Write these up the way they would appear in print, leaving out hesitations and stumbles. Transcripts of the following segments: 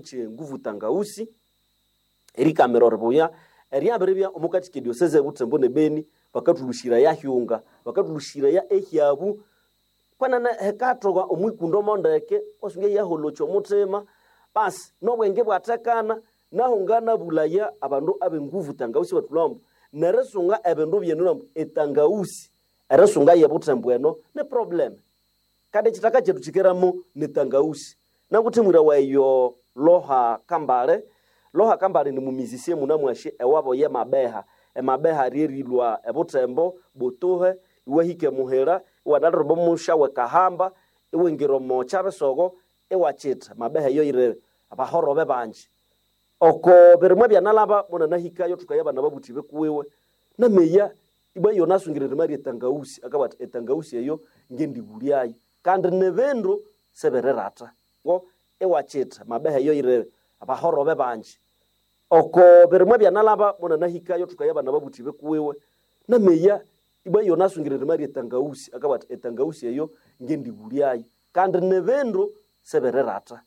Nguvu Tangausi erikamira oribuya eryabiribya omukati k'ediosese Butembo ne Beni bakatulushiraya hyunga bakatulushiraya ehyabu kwenene hekathoka omwikundo mondeke wasunga yaholokya omuthima basi nobwenge bwathekana naho nganabulaya abandu abenguvu tangausi bathulhambo nerisunga ebindu byenu ambu etangausi erisunga yebuthembo eno ni problem kandi ekithaka kyethu kyikeramo nitangausi nanguthimwira weyo Loha Kambale. Loha Kambale ni mumizisie munamwashi ewabo ye Mabeha. Emabeha ryerilwa ebuthembo butuhe iwahika emuhira iwanalirwa omusha wekahamba iwingira omo kyabisogo iwakitha Mabeha eyo yiri abahorobe bangi. Oko birimwa byanalaba munanahikayo thukaya abana babuthi bikuwiwe nameya ibwa iyo nasungire erima ryetangausi akabugha athi etangausi eyo ngendighulyayo kandi nibindu sibirirata ngo iwakitha Mabeha eyo yiri abahorobe bangi. Oko birimwa byanalaba munanahikayo thukaya abana babuthi bikuwiwe nameya ibwa iyo nasungire erima ryetangausi akabugha athi etangausi eyo ngendighulyayo kandi nibindu sibirirata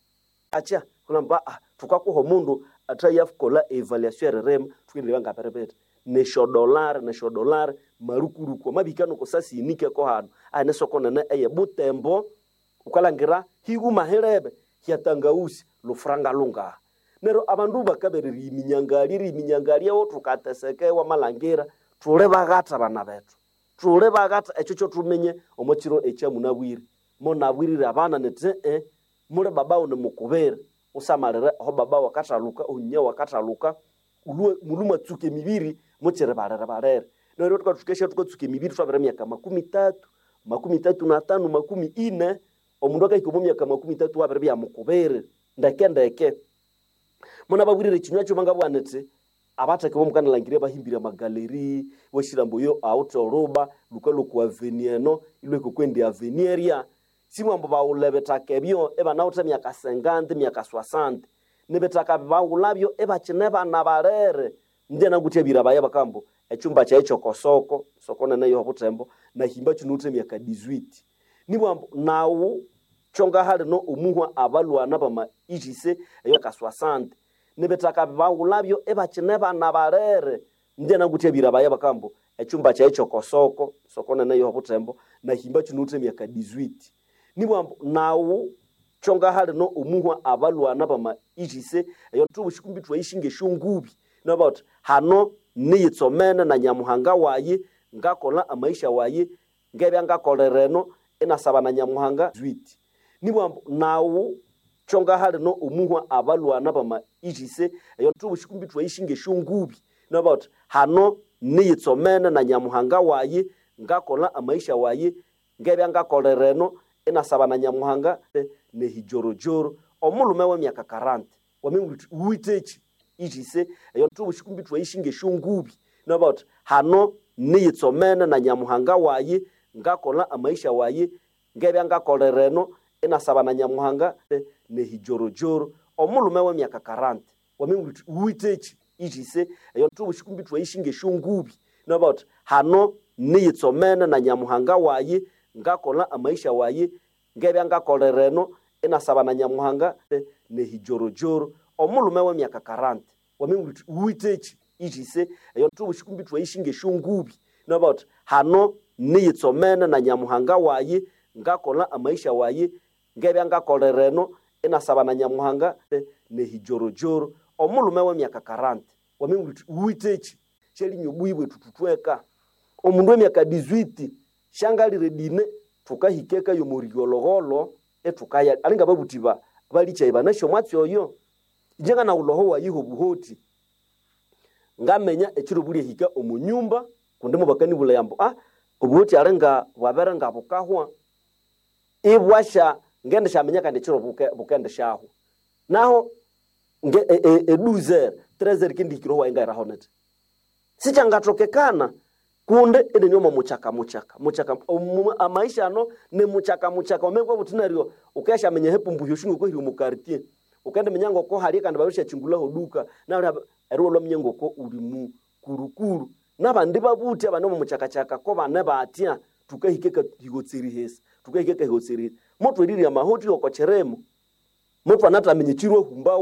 acha kulamba thukakuha omundu athayakola evaluation eririma thukendireba ngabiribiti nesyo dollar marukuruku amabihika noko hanu ahi nisoko nene eye Butembo wukalhangira higuma hirebe hyatangausi lufuranga lungaha neryo abandu bakabere eriyiminyangaldya eriyiminyangaldyawo thukateseka iwamalhangira thuli baghatha abana bethu thuli baghatha ekyo kyothuminye omo kiro ekyamunabwire munabwirire abana nithi muli babawu nimukubire usamalire aho babawu akathaluka omunyawu akathaluka mulhwe mwatsuka emibiri mukiri balere balere neryo thukasya thukatsuka emibiri thwabiri myaka 30, 35, 40 omundu akahika omo myaka 30 wabiribya mukubiri ndeke ndeke. Munababwirire ekinywa kyuma ngabugha nithi abatheke bomukanalhangiria bahimbire amagaleri iwashirambu oyo awithe oruba lhukalhwa okwa avenue eno ilhwahika okwendi avenue erya simwambu baghulha ebithaka ebyo ibanawithe emyaka 50 emyaka 60 nibithaka baghulhabyo ibakine bana balere ingye nanguthe ebirabaya bakambu ekyumba kyayi kyokosoko soko nene eyobuthembo nahimba kyinawithe emyaka 18 nibwambu naghu kyongahalino omuhwa abalhwana bama ijise eyo 60 nibithaka baghulhabyo ibakine bana balere ingye nanguthe ebirabaya bakambu ekyumba kyayi kyokosoko soko nene eyobuthembo nahimba kyinawithe emyaka 18 nibwambu naghu kyongahalino omuhwa abalhwana bama ijise eyo thubushikumbi thwayishinga esyongubi nabawuthi hano niyitsomene na Nyamuhanga wayi ngakolha amaisha wayi ngebya ngakolera eno inasaba na Nyamuhanga 18 nibwambu naghu kyongahalino omuhwa abalhwana bama ijise eyo thubushikumbi thwayishinga esyongubi nabawuthi hano niyitsomene na Nyamuhanga wayi ngakolha amaisha wayi ngebya ngakolera eno inasaba na Nyamuhanga nehijorojoro omulhume wemyaka 40 wamewuthi wuwitheki ijise eyo thubushikumbi thwayishinga esyongubi nabawuthi hano niyitsomene na Nyamuhanga wayi ngakolha amaisha wayi ngebya ngakolera eno inasaba na Nyamuhanga nehijorojoro omulhume wemyaka 40 wamewuthi wuwitheki ijise eyo thubushikumbi thwayishinga esyongubi nabawuthi hano niyitsomene na Nyamuhanga wayi ngakolha amaisha wayi ngebya ngakolera eno inasaba na Nyamuhanga nehijorojoro omulhume wemyaka 40 wamewuthi wuwitheki ijise eyo thubushikumbi thwayishinga esyongubi nabawuthi hano niyitsomene na Nyamuhanga wayi ngakolha amaisha wayi ngebya ngakolera eno inasaba na Nyamuhanga nehijorojoro omulhume wemyaka 40 wamewuthi wuwitheki syalinya obuhi bwethu thuthweka omundu wemyaka 18 syangalire dine thukahika eka yomoriyolhogholho ithukaya alinga ababuthi balikyayi banasi omwatsi oyo inje nganawulha oho wayiha obuhoti ngamenya ekiro bulyahika omu nyumba kundi mubakanibulaya ambu obuhoti alinga bwabere ngabukahwa ibwasya ngendisyaminya kandi ekiro bukendisyahwa naho eduzer trezer kindihikire owayi ngahiraho nithi sikyangathokekana kundi inini omo mukyaka mukyaka mukyaka amaisha ano ni mukyaka mukyaka wamabya buthi neryo wukasyaminya ehepumbuhya osi ngoko hiri omu quartier wukendiminya ngoko hali kandi babirishyakyingulhaho duka neryo eriwalhwa waminya ngoko uli mukulukulu nabandi babuthi abane omo mukyakakyaka ko bane batya thukahika ekahighotsirihesa thukahika ekahighotsirihesa muthwerirya amahoti oko kirimo muthwanathaminya ekiro humbawo.